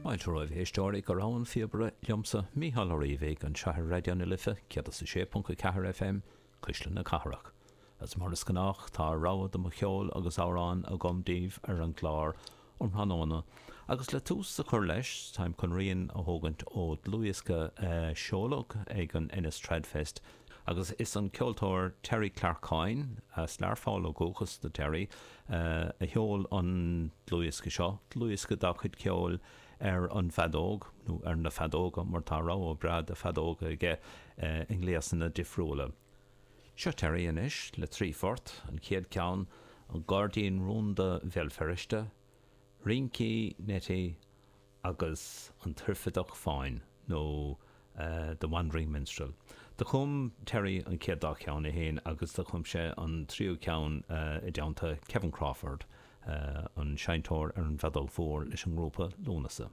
Fáilte romhaibh a éisteoirí go Rogha an Phíobaire liomsa, Mícheál Ó Riabhaigh, anseo ar Raidió na Life 106.4 FM, Cuisle na Cathrach. Agus mar is gnách, tá rogha de mo cheol agus amhráin agam daoibh ar an gclár um thráthnóna. Agus le tús a chur leis, táim chun rian a thógaint ó dlúthdhiosca a seoladh ag an Ennis Tradfest agus is an ceoltóir Terry Clarke Coyne, as Learpholl ó dhúchas do Terry, a sheol an dlúthdhiosca seo, dlúthdhiosca dá chuid ceoil ar an bhfeadóg, nó ar na feadóga, mar tá rogha breá de feadóga aige i ngléasanna difriúla. Seo Terry anois le 3 phort, an chéad ceann, An Gairdín Rúnda Bhéal Feirste, Rincí Nettie agus An tOirfideach Fáin, nó The Wandering Minstrel. Do chum Terry an chéad dá cheann é féin agus do chum sé an tríú ceann i dteannta Kevin Crawford, an seinnteoir ar an bhfeadóg mhór leis an ngrúpa Lúnasa.